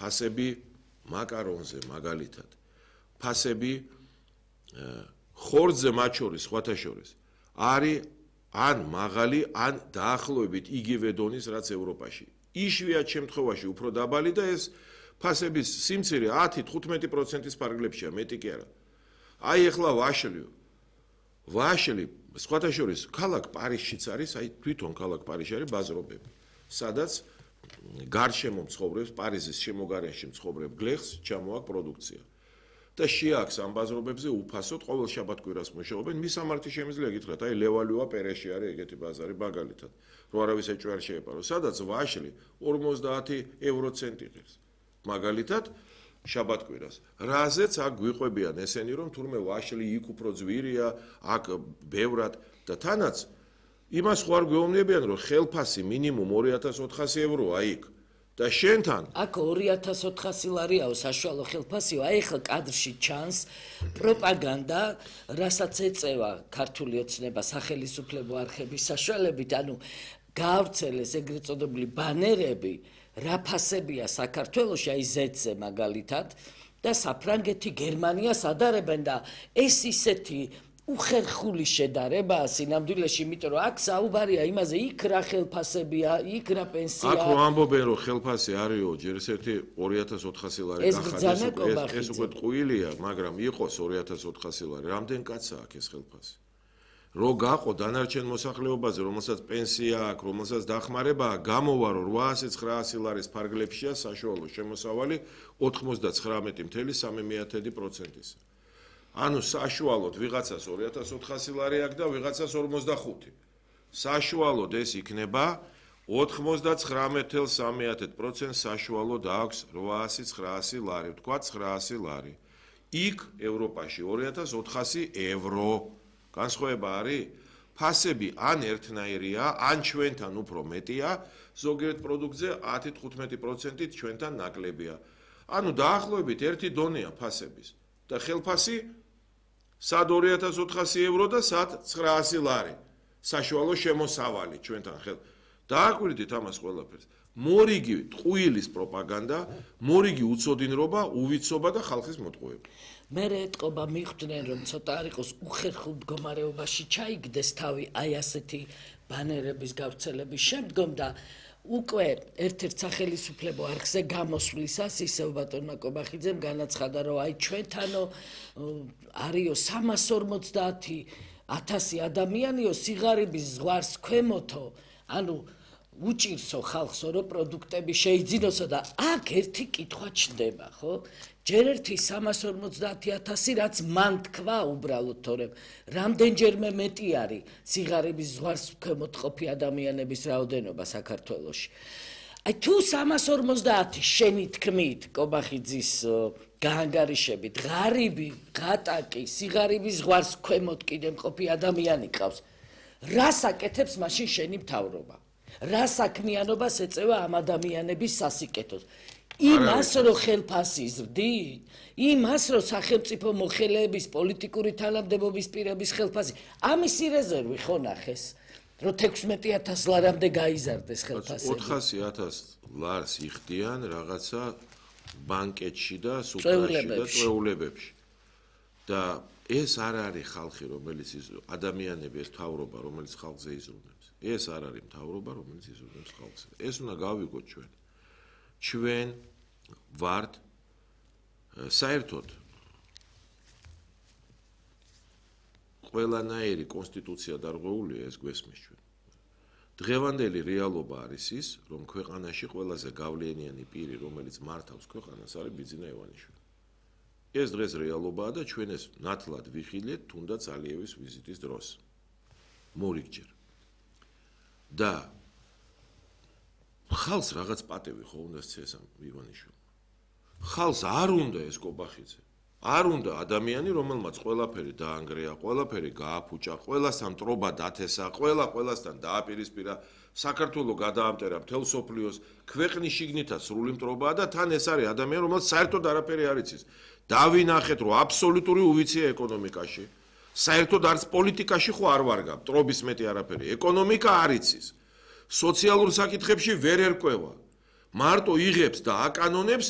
ფასები მაკარონზე მაგალითად, ფასები ხორცზე მათ შორის, სხვათა შორის არის ან მაღალი, ან დაახლოებით იგივე დონის, რაც ევროპაში. იშვიათ შემთხვევაში უფრო დაბალი და ეს ფასების სიმცირე 10-15%-ის ფარგლებშია, მეტი კი არა. აი ახლა ვაშლი, სხვათა შორის ქალაქ პარიზშიც არის, აი თვითონ ქალაქ პარიზში არის ბაზრობები, სადაც გარშემო მცხოვრებს, პარიზის შემოგარენში მცხოვრებ გლეხს ჩამოაქვს პროდუქცია. და შეაქვს ამ ბაზრობებზე უფასოდ ყოველ შაბათ-კვირას მუშაობენ. მისამართი შემიძლია გითხრათ, აი ლევალუა პერეში არის ეგეთი ბაზარი მაგალითად, რო არავის ეჭვი არ შეეპარო, სადაც ვაშლი 50 ევროცენტი ღირს. მაგალითად, შაბათ-კვირას. რაზეც აქ გვიყვებიან ესენი, რომ თურმე ვაშლი იქ უფრო ძვირია, აქ ბევრად და თანაც იმას ხო არ გვეუბნებიან, რომ ხელფასი მინიმუმ 2400 ევროა იქ. და შენთან აქ 2400 ლარიაო საშუალო ხელფასიო, აი ხა კადრში ჩანს პროპაგანდა, რასაც ეწევა ქართული ოცნება სახელისუფლებო არხების საშუალებით, ანუ გაავრცელეს ეგრეთ წოდებული ბანერები, რა ფასებია საქართველოში, აი ზეთზე მაგალითად და საფრანგეთი, გერმანიას ადარებენ და ეს ისეთი უხერხული შედარებაა სინამდვილეში, იმიტომ რომ აქ საუბარია იმაზე, იქ რა ხელფასებია, იქ რა პენსია. აქ რო ამბობენ, რომ ხელფასი არისო, ჯერ ერთი 2400 ლარი გახადეს, ეს უკვე ტყუილია, მაგრამ იყოს 2400 ლარი. რამდენ კაცაა აქ ეს ხელფასი? რო გაყო დანარჩენ მოსახლეობაზე, რომელსაც პენსია აქვს, რომელსაც დახმარება, გამოვა რომ 800-900 ლარის ფარგლებშია საშუალო შემოსავალი 99.3%-ის. ანუ საშუალოდ ვიღაცას 2400 ლარი აქვს და ვიღაცას 45. საშუალოდ ეს იქნება 99.3% საშუალოდ აქვს 800-900 ლარი, ვთქვათ 900 ლარი. იქ ევროპაში 2400 ევრო. განსხვავება არის? ფასები ან ერთნაირია, ან ჩვენთან უფრო მეტია, ზოგიერთ პროდუქტზე 10-15%-ით ჩვენთან ნაკლებია. ანუ დაახლოებით ერთი დონეა ფასების და ხელფასი სად 2400 ევრო და სად 900 ლარი. საშუალო შემოსავალი ჩვენთან ხელ. დააკვირდით ამას ყველაფერს. მორიგი ტყუილის პროპაგანდა, მორიგი უცოდინრობა, უვიცობა და ხალხის მოტყუება. მე ეტყობა მიხვდნენ, რომ ცოტა არ იყოს უხერხულ მდგომარეობაში ჩაიგდეს თავი აი ასეთი ბანერების გავრცელების შემდგომ და უკვე ერთ-ერთ სახელისუფლებო არხზე გამოსვლისას ისევ ბატონმა კობახიძემ განაცხადა, რომ აი ჩვენთანო არისო 350,000 ადამიანიო სიღარიბის ზღვარს ქვემოთო, ანუ უჭირსო ხალხსო, რომ პროდუქტები შეიძინოსო და აქ ერთი კითხვა ჩნდება, ხო? ჯერ ერთი 350,000, რაც მან თქვა უბრალოდ, თორემ რამდენჯერმე მეტი არის სიღარიბის ზღვარს ქვემოთ ყოფი ადამიანების რაოდენობა საქართველოში. აი თუ 350 შენი თქმით, კობახიძის გაანგარიშებით, ღარიბი, ღატაკი, სიღარიბის ზღვარს ქვემოთ კიდე მყოფი ადამიანი ყავს, რას აკეთებს მაშინ შენი მთავრობა? რა საქმიანობას ეწევა ამ ადამიანების სასიკეთოს? იმას რომ ხელფასი ზრდი, იმას რომ სახელმწიფო მოხელეების პოლიტიკური თანამდებობის პირების ხელფასი, ამისი რეზერვი ხო ნახეს, რომ 16000 ლარამდე გაიზარდეს ხელფასები. 400,000 ლარს იხდიან რაღაცა ბანკეტში და სუპრაში და წვეულებებში. და ეს არ არის ხალხი, რომელიც ადამიანები, ეს მთავრობა, რომელიც ხალხზე იზრუნებს. ეს არ არის მთავრობა, რომელიც იზრუნებს ხალხზე. ეს უნდა გავიგოთ ჩვენ. ჩვენ ვართ საერთოდ ყველანაირი კონსტიტუცია დარღვეულია, ეს გვესმის ჩვენ. დღევანდელი რეალობა არის ის, რომ ქვეყანაში ყველაზე გავლენიანი პირი, რომელიც მართავს ქვეყანას, არის ბიძინა ივანიშვილი. ეს დღეს რეალობაა და ჩვენ ეს ნათლად ვიხილეთ თუნდაც ალიევის ვიზიტის დროს. მორიგჯერ. და ხალხს რაღაც პატევი ხო უნდა სცეს ამ ივანიშვილმა. ხალხს არ უნდა ეს კობახიძე. არ უნდა ადამიანი, რომელმაც ყველაფერი დაანგრეა, ყველაფერი გააფუჭა, ყველასთან ტრობა დათესა, ყველასთან დააპირისპირა, საქართველო გადაამტერა მთელ სოფლიოს, ქვეყნის შიგნითაც სრული მტრობაა და თან ეს არის ადამიანი, რომელსაც საერთოდ არაფერი არ იცის. დავინახეთ, რომ აბსოლუტური უვიცია ეკონომიკაში. საერთოდ არც პოლიტიკაში ხო არ ვარგა, მტრობის მეტი არაფერი. ეკონომიკა არ იცის. სოციალურ საკითხებში ვერ ერკვევა. მარტო იღებს და აკანონებს